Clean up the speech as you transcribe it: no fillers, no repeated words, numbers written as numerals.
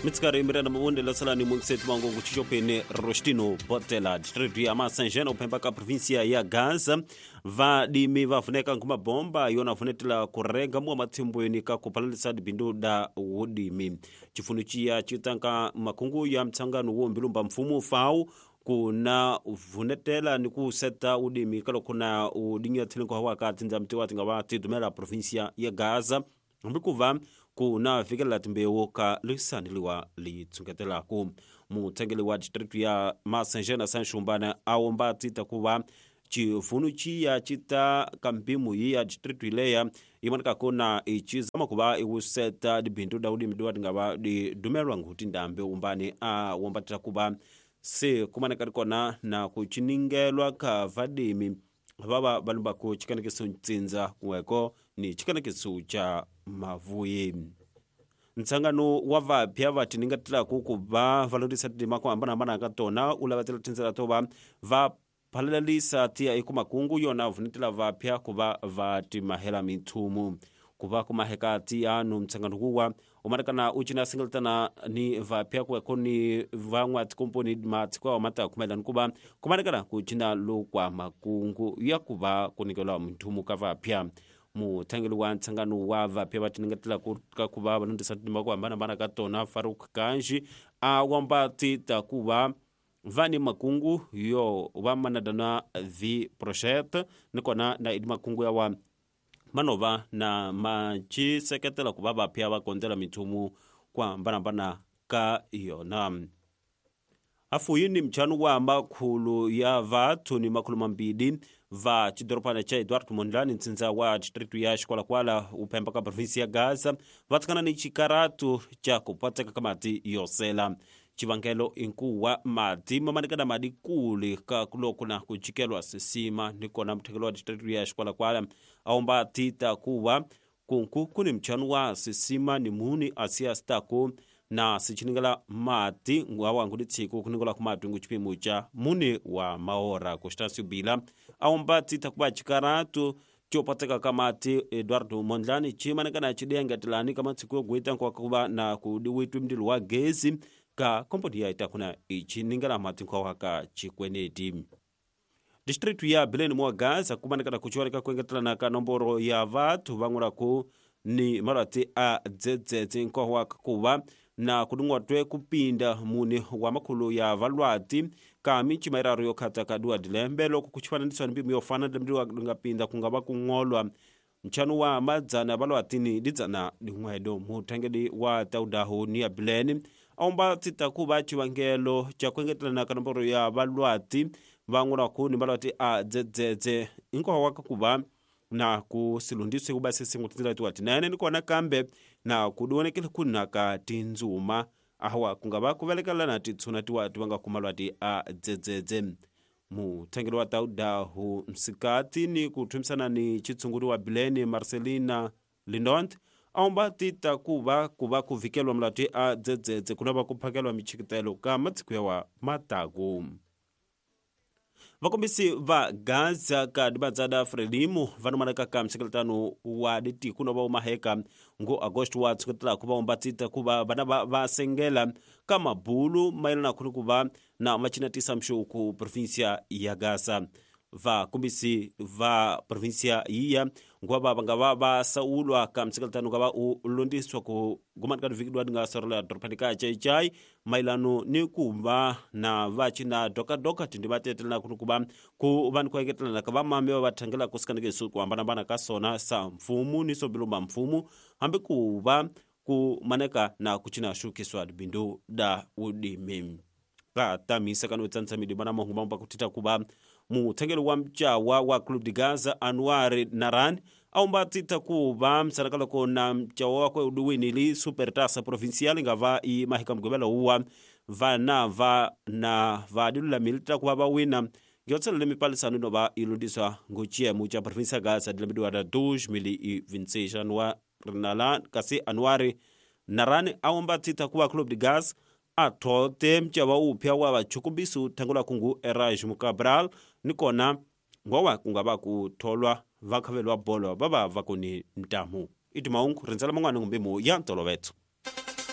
Mitsikari Miranda Mavunde lasalani muingiseti wangu kuchichopene Rostino Botela distritu ya Masanjena uphemba ka província ya Gaza. Vadimi vavuneka nkhumabomba yona vunetela kurenga muwa matsimbweni ka kupalalisa dibindu da wudimi. Chifunu chiya chitanka makungu ya mtsangano wo mbilumba mfumu FAO kuna vunetela ni kuseta udimi kalo kuna udinya thilinko hawa ka tindza mtiwa tinga tidumela província ya Gaza mbikuva kuna fikelela timbewu ka lisaniliwa litsungetelaku. Muthengeli wa distritu ya Masanjena Sanxumbana awomba tita kuva chifunu chiya chita kampimu yiya distritu ileya imoneka kuna ichizama kuva iwuseta dibindu da udimi diwa tingava didumelwa nkuti ndambe umbani awomba tita kuva se kumaneka rikona na kuchiningelwa ka vadimi vava valumbaku chikanekiso ntsindza kuweko ni chikanekiso cha mavuyi. Ntsangano wa vapya vatiningatelaku kuva valondisa tidima ku hambanahambana ka tona u lavatela tindzela to va va phalalalisa tiya eku makungu yona vunetela vapya kuva va timahela mithumu kuva kumaheka tiyanu. Ntsangano kuwa umarekana u cina singeletana ni vapya kuweko ni van'wa tikomponi matiko awa mata kumelani kuva kumarekana ku cina lokwa makungu ya kuva ku nikelwa mithumu ka vapya. Muthangeli wa ntsangano wa vapya vatiningetela ka kuva valondisa tidima ku hambanahambana ka tona Faruk Kanji a wamba tita kuva vani makungu yo va manadana vi project nikona na idi makungu yawa manova na machiseketela kuva vapya va kondela mithumu ku hambanahambana ka yona. Afuyini mchanu wa makhulu ya vathu ni makhulu mambili va chidoropana cha Eduardo Mondlane ntsindza wa distritu ya Xikwalakwala uphemba ka provinsi ya Gaza vatsikana ni chikaratu cha kupatseka ka mati yosela. Chivangelo inkuwa mati mamanekana madi kule ka kuloko na kuchikelwa sisima nikona muthekelo wa distritu ya Xikwalakwala aomba tita kuwa kunku kuni mchanu wa sisima ni muni asiya stako na sichiningela mati ngwawa ngudi tsiku kuningola kumati ngu chipimo cha mune wa maora. Constâncio Bila aomba tita kuva chikaratu chopateka kamati Eduardo Mondlane chimanekana chidiangetelani kama tsiku yoguita nkwakuva na kudiwitwi mndilo wa gezi ka komponi yaita kuna ichiningela mati nkwawaka chikweneti. Distritu ya Belém mwa Gaza kumanekana kuchiwaleka kuengetelana ka nomboro ya vathu vang'ulaku ni malwati a dzedzedze nkwawaka kuva na kudungwatwe kupinda mune wa makhulu ya valwati ka michima iraru yokhata ka duwa dilembe loko kuchifananisiwa ni mpimo yofana dilembe lingapinda kungava kung'olwa nchanu wa madzana valwati ni lidzana lin'wedo. Muthangeli wa taudahu ni ya Bilene aomba tita kuva chivangelo cha kuengetelana ka nomboro ya valwati vang'ulaku ni malwati a dzedzedze inkowa kuva na kusilundiswe kuba sesingu tindzela tiwa tinene nikona kambe na kudiwonekele kunaka tindzuma awa kungava kuvelekela na titshuna tiwa tivanga kumalwati a dzedzedze. Muthengeli wa taudahu msikati ni kuthumisana ni chitsunguli wa Bilene Marcelina Lindont aomba tita kuva kuva kuvikelwa malwati a dzedzedze kunava kuphakelwa michikitelo ka matsiku yawa mataku. Vakombisi va Gaza ka dibadzada Frelimo vanomanaka ka msekeletano wa ditiku no va umaheka ngo Agosto wa tshuketela kuva ombatsita kuva vana va sengela ka mabulu mayelana khulu kuva na machinatisa mxuku província ya Gaza. Vakombisi va província yiya ngwava vanga va va saulwa ka msekeletano ka va u londiswa ku gumani ka divikidwa dinga sorela doropani ka chaichai mailano ni kuva na vachina dokadoka tindi vatetelana kuni kuva ku va ni kuengetelana ka vamame va vathangela kusikaneke ku hambanahambana ka sona sa mfumu ni sobilumba mfumu hambi ku va ku maneka na kuchina xukiswa dibindu da udimi. Ka tamisa kano tsantsha midima na mahungu mambo kutita kuva muthengeli wa mchawa wa Club de Gaza Anwar Naran aomba tita kuva msarakaloko na mchawa wakwe uduwinili Supertaça Provincial ngava i mahika mgobela uwa vana va na vadilulamilita kuva vawina ngiyotselele mipalisano inova ilundiswa nguchiemu cha província Gaza dilamidiwa da 2026. Anwar Naran kasi Anwar Naran aomba tita kuva Club de Gaza athote mchawa upya wa vachukumbisu thangula kungu Erasmo Cabral nikona ngowa kungava kutholwa vakhavelwa bolo vava vakuni ntamu. Iti maungu rindzela man'wana ngumbimu ya ntolovetso.